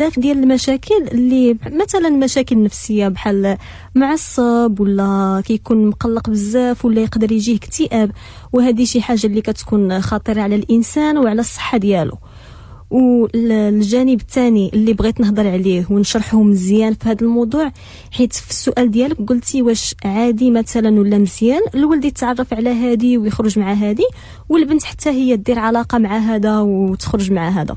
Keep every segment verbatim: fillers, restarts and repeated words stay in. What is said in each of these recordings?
بزاف ديال المشاكل اللي مثلا مشاكل نفسية بحال معصب ولا كيكون مقلق بزاف ولا يقدر يجيه اكتئاب، وهذه شي حاجة اللي كتكون خطيرة على الانسان وعلى الصحة ديالو. والجانب الثاني اللي بغيت نهضر عليه ونشرحه مزيان في هذا الموضوع، حيت في السؤال ديالك قلتي واش عادي مثلا ولا مزيان الولد يتعرف على هادي ويخرج مع هادي، والبنت حتى هي دير علاقة مع هذا وتخرج مع هذا.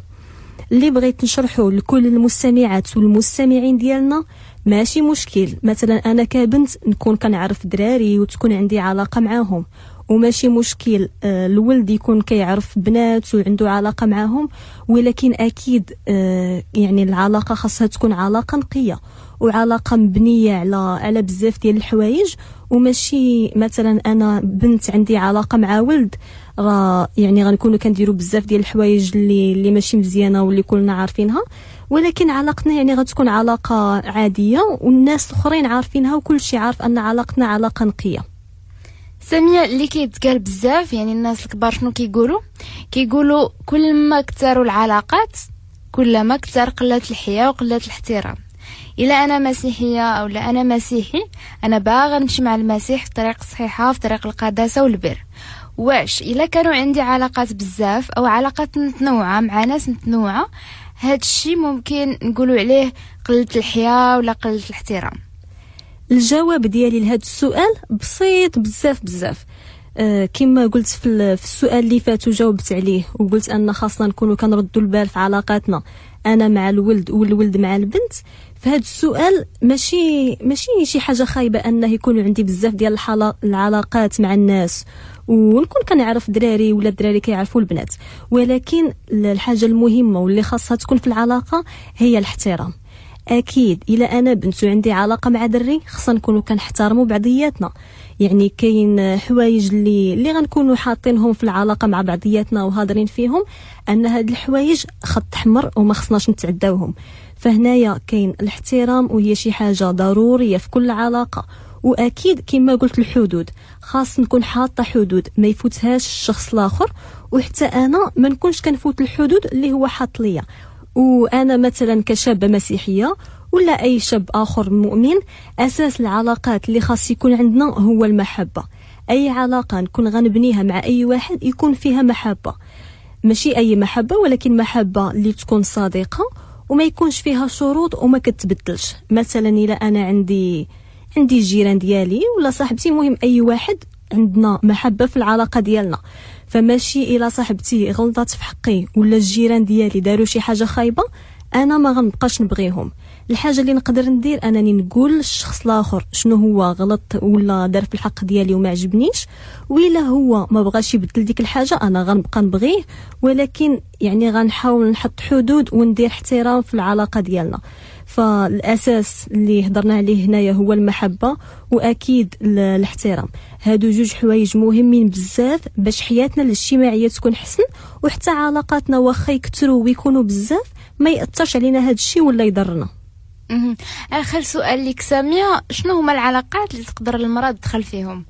اللي بغيت نشرحه لكل المستمعات والمستمعين ديالنا، ماشي مشكل مثلا انا كبنت نكون كنعرف دراري وتكون عندي علاقة معاهم، وماشي مشكل آه، الولد يكون كيعرف بنات وعنده علاقة معاهم، ولكن اكيد آه، يعني العلاقة خاصها تكون علاقة نقية وعلاقة مبنية على على بزاف ديال الحوايج. وماشي مثلا انا بنت عندي علاقة مع ولد راه يعني غنكونوا كنديروا بزاف ديال الحوايج اللي اللي ماشي مزيانه واللي كلنا عارفينها، ولكن علاقتنا يعني غتكون علاقة عادية والناس الاخرين عارفينها وكل شيء عارف ان علاقتنا علاقة نقية. سامية، اللي كيتقال بزاف يعني الناس الكبار شنو كيقولوا؟ كيقولوا كل ما كثروا العلاقات كل ما كثر قلة الحياة وقلة الاحترام. الا انا مسيحية او لا انا مسيحي، انا باغا نمشي مع المسيح في الطريق الصحيحه، في طريق القداسة والبر. واش الا كانوا عندي علاقات بزاف او علاقات متنوعة مع ناس متنوعة، هاد الشيء ممكن نقولوا عليه قلة الحياة ولا قلة الاحترام؟ الجواب ديالي لهذا السؤال بسيط بزاف بزاف. آه كما قلت في, في السؤال اللي فات وجاوبت عليه وقلت ان خاصنا نكونوا كنردوا البال في علاقاتنا، انا مع الولد والولد مع البنت. فهذا السؤال ماشي ماشي شي حاجة خايبة انه يكون عندي بزاف ديال العلاقات مع الناس ونكون كنعرف دراري ولا الدراري كيعرفوا البنات، ولكن الحاجة المهمة واللي خاصها تكون في العلاقة هي الاحترام. اكيد الا انا بنت وعندي علاقة مع دري خصنا نكونوا كنحترموا بعضياتنا، يعني كاين حوايج اللي اللي غنكونوا حاطينهم في العلاقة مع بعضياتنا وهادرين فيهم ان هاد الحوايج خط احمر وما خصناش نتعداوهم. فهنايا كاين الاحترام وهي شي حاجة ضرورية في كل علاقة، واكيد كما قلت الحدود، خاص نكون حاطه حدود ما يفوتهاش الشخص الاخر، وحتى انا ما نكونش كنفوت الحدود اللي هو حاط ليا. وانا مثلا كشابه مسيحية ولا اي شاب اخر مؤمن، اساس العلاقات اللي خاص يكون عندنا هو المحبة. اي علاقة نكون غنبنيها مع اي واحد يكون فيها محبة، ماشي اي محبة ولكن محبة اللي تكون صادقة وما يكونش فيها شروط وما كتبدلش. مثلا الا انا عندي عندي الجيران ديالي ولا صاحبتي، المهم اي واحد عندنا محبة في العلاقة ديالنا، فماشي الا صاحبتي غلطت في حقي ولا الجيران ديالي داروا شي حاجة خايبة انا ما غنبقاش نبغيهم. الحاجة اللي نقدر ندير انني نقول للشخص الاخر شنو هو غلط ولا دار في الحق ديالي وما عجبنيش، وإلا هو ما بغاش يبدل ديك الحاجة انا غنبقى نبغيه، ولكن يعني غنحاول نحط حدود وندير احترام في العلاقة ديالنا. فالاساس اللي هضرنا عليه هنايا هو المحبة واكيد الاحترام. هادو جوج حوايج مهمين بزاف باش حياتنا الاجتماعية تكون حسن، وحتى علاقاتنا واخا يكثروا ويكونوا بزاف ما ياثرش علينا هاد الشيء ولا يضرنا. اخر سؤال لك سامية، شنو هما العلاقات اللي تقدر المراة تدخل فيهم؟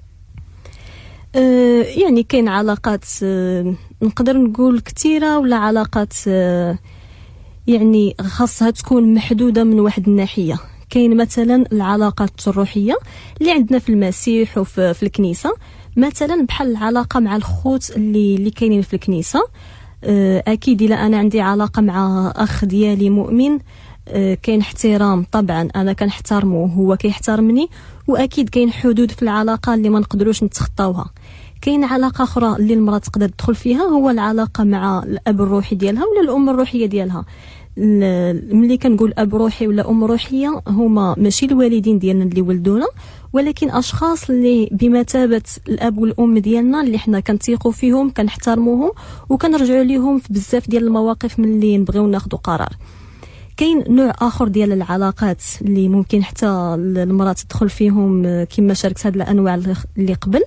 أه يعني كاين علاقات أه نقدر نقول كثيرة، ولا علاقات أه يعني خاصها تكون محدودة من واحد الناحية. كاين مثلا العلاقات الروحية اللي عندنا في المسيح وفي في الكنيسة، مثلا بحال العلاقة مع الخوت اللي اللي كاينين في الكنيسة. اكيد الا انا عندي علاقة مع اخ ديالي مؤمن كاين احترام طبعا، انا كنحترمه وهو كيحترمني، واكيد كاين حدود في العلاقة اللي ما نقدروش نتخطاوها. كاين علاقة اخرى اللي المراة تقدر تدخل فيها، هو العلاقة مع الاب الروحي ديالها ولا الام الروحية ديالها. ملي كنقول اب روحي ولا ام روحية، هما ماشي الوالدين ديالنا اللي ولدونا، ولكن اشخاص اللي بمثابة الاب والام ديالنا اللي حنا كنثيقوا فيهم، كنحترموهم وكنرجعوا ليهم في بزاف ديال المواقف ملي نبغيو ناخذوا قرار. كاين نوع اخر ديال العلاقات اللي ممكن حتى المراة تدخل فيهم كما شاركت هاد الانواع اللي قبل،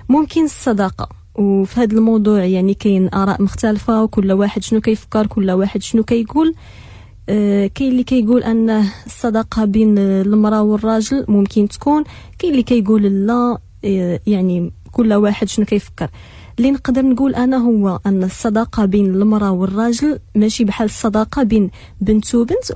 ممكن الصداقة. وفي هذا الموضوع يعني كاين اراء مختلفة، وكل واحد شنو كيفكر، كل واحد شنو كيقول. آه كاين اللي كيقول ان الصداقة بين المراة والراجل ممكن تكون، كاين اللي كيقول لا، آه يعني كل واحد شنو كيفكر. اللي نقدر نقول انا هو ان الصداقة بين المراة والراجل ماشي بحال الصداقة بين بنت وبنت.